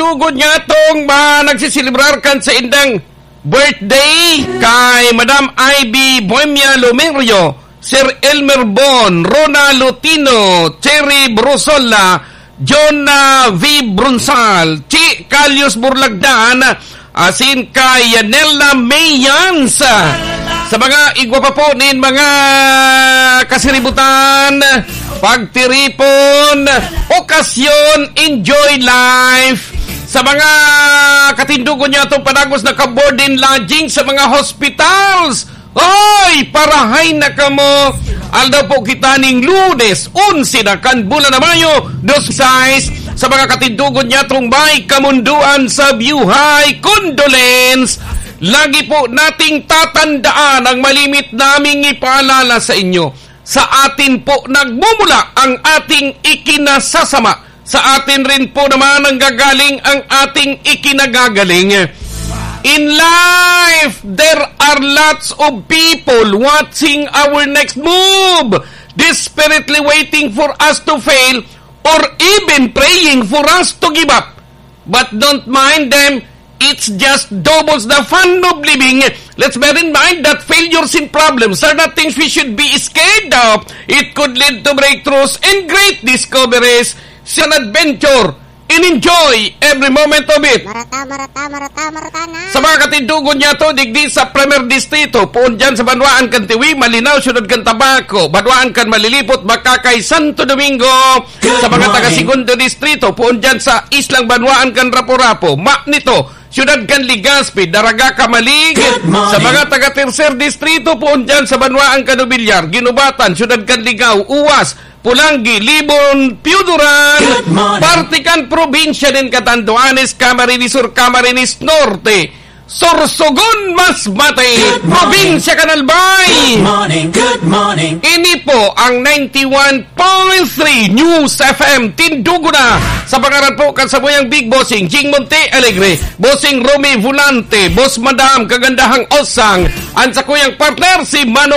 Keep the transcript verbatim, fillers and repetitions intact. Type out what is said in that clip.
Tugod niya tong mga nagsiselebrar kan saindang birthday kay Madam Ivy Bohemia Lumerio, Sir Elmer Bon, Rona Lutino, Cherry Brusola, John, ah, V Brunsal, Chi Calius Burlagdan, asin kay Yanela Mayans. Sa mga igwa pa po nin mga kasiributan, pagtiripon, okasyon, enjoy life. Sa mga katindogon niya itong panagos na ka-board and lodging sa mga hospitals, oy, parahay na kamo! Aldaw po kita ning Lunes, onse na kan bulan na Mayo, dos sais, sa mga katindogon niya itong may kamundoan sa biyuhay. Condolence! Lagi po nating tatandaan ang malimit naming ipaalala sa inyo. Sa atin po nagmumula ang ating ikinasasama. Sa atin rin po naman nanggagaling ang ating ikinagagaling. In life, there are lots of people watching our next move, desperately waiting for us to fail, or even praying for us to give up. But don't mind them, it's just doubles the fun of living. Let's bear in mind that failures and problems are not things we should be scared of. It could lead to breakthroughs and great discoveries. It's an adventure and enjoy every moment of it. Marata, marata, marata, marata na. Sa mga katindogon niya to, digdi sa Primer Distrito, poon dyan sa banwaan kan Tiwi, Malinao, Siyudad kan Tabaco, banwaan kan Malilipot, Bacacay, Santo Domingo. Sa mga taga Segundo Distrito, poon dyan sa islang banwaan kan Rapu-Rapu, Manito, Siyudad kan Legazpi, Daraga, Camalig. Sa mga taga Tercer Distrito, poon dyan sa banwaan kan Nobiliar, Guinobatan, Siyudad kan Ligao, Uwas, Polangui, Libon, Pioduran, parte kan probinsya nin Catanduanes, Camarines Sur, Camarines Norte, Sorsogon, Masbate, probinsya kan Albay. Good morning, good morning. Ini po ang ninety-one point three News F M Tindugo na. Sa pangaran po kan samuyang Big Bossing Jing Monte Alegre, Bossing Romy Volante, Boss Madam Kagandahang Osang, ang sakuyang partner si Mano